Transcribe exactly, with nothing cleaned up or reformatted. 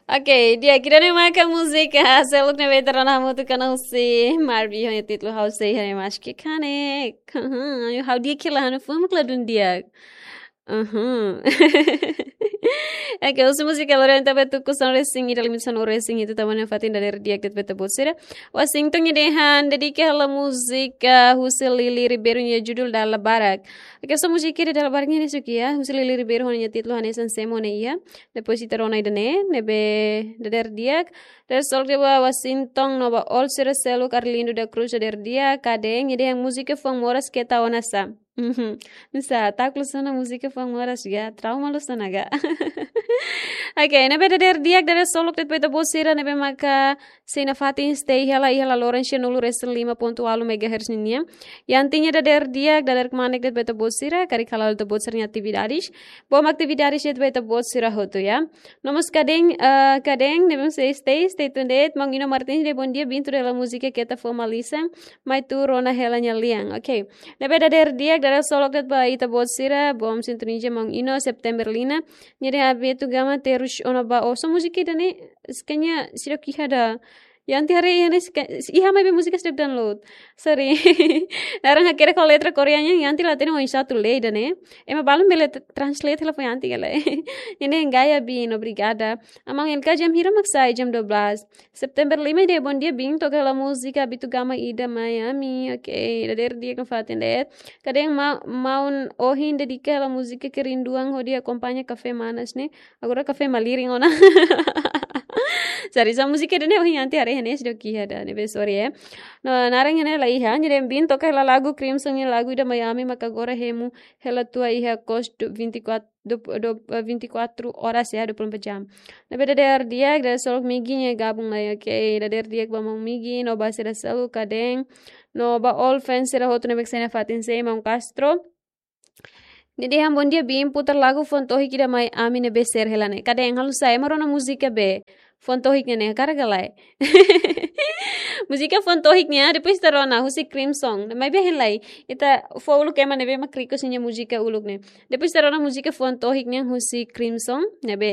Oke, di'ak, ida-ne'e maka múzika seluk ne'ebé ita rona hamutuk ona husi Marvin ho nia títulu Ha'u Sei Ha'u Maski Kanek. Ha'u di'ak hela, ha'u-nia fuan mak ladún di'ak. Uhum. Oke, husi múzika lori ita bá tuku sanulu-resin-ida, limite sanulu-resin-hitu, tanba ne'e fatin dadeer di'ak de'it ba ita-boot sira. Washington nia dehan dedika hela múzika husi Lili Ribeiro nia judul Dala Barak. Oke, so múzika ida Dala Barak ne'e husi kiak, husi Lili Ribeiro ho nia títulu Hanesan Semo ne'e iha. Depois ita rona ida-ne'e, ne'ebé dadeer di'ak. Dadeer solok de'it ba Washington no ba Ol sira seluk, Arlindo da Cruz dadeer di'ak, kade'eng, nia dehan múzika fuan moras keta ona sá. Mhm. Nusá, takut lus ona múzika fuan moras ga, trauma lus ona ga. Oke, ne'ebé dadeer di'ak, dadeer solok de'it ba ita-boot sira ne'ebé maka sei nafatin stay hela iha laloran sianulu-resin-lima pontu ualu megahertz ninian. Yanti nia dadeer di'ak, dadeer kmanek de'it ba ita-boot sira, karik hala'o ita-boot sira-nia atividades. Bom atividades de'it ba ita-boot sira hotu, ya. No mós kade'eng, eh, kade'eng, ne'ebé sei stay, stay tuned de'it, Maun Ino Martins dehan bondia, biin tuda hela múzika keta fuan malisan, mai tuur ona hela nia lian. Oke. Ne'ebé dadeer di'ak, dadeer solok de'it ba ita-boot sira, bom sintonia Maun Ino, September Lina, nia dehan Abeto Gama terus ona ba, oh, so múzika ida-ne'e, skanya sira kiha da. Yanti haree iha ne'e, iha maibé múzika setiap download. Sorry. Naran hakerek ho letra Koreanya, Yanti la hatene oinsá atu lee ida-ne'e. Ema balun bele t-, translate hela fó Yanti ka lae. Ida-ne'e gaya biin, obrigada. Aman Elka jam hira mak sai, jam dua belas. September lima dehan bondia, biin toka hela múzika Abeto Gama ida Miami. Oke, dadeer di'ak nafatin de'it. Kade'eng ma-, maun ohin dedika hela múzika Kerinduan hodi akompaña kafé manas ne'e. Agora kafé malirin ona. Sari, so múzika ida-ne'e ohin Yanti haree iha ne'e seidauk kiha da, ne'ebé sorry, eh. No, naran iha ne'e la iha, nia dehan biin toka hela lagu Crimson nia lagu ida Miami, maka agora hemu hela tua iha kos du-, vinte e quatro, du-, du-, eh, vinte e quatro horas ya, dua puluh empat jam. Ne'ebé dadeer di'ak, dadeer solok Migi nia gabung lai, oke, dadeer di'ak ba maun Migi, no ba sira seluk kade'eng, no ba all fans sira hotu ne'ebé sei nafatin stay, maun Castro. Nia dehan bondia biin putar lagu fuan tohik ida Miami ne'ebé share hela ne'e. Kade'eng, halo sai, ema rona múzika be fuan tohik ne'e, ne'e hakarak ka lae. Múzika fuan tohik ne'e, depois ita rona husi Crimson. Maibé hein lai, ita fó uluk ema ne'ebé mak request nia múzika uluk ne'e. Depois ita rona múzika fuan tohik ne'e husi Crimson, ne'ebé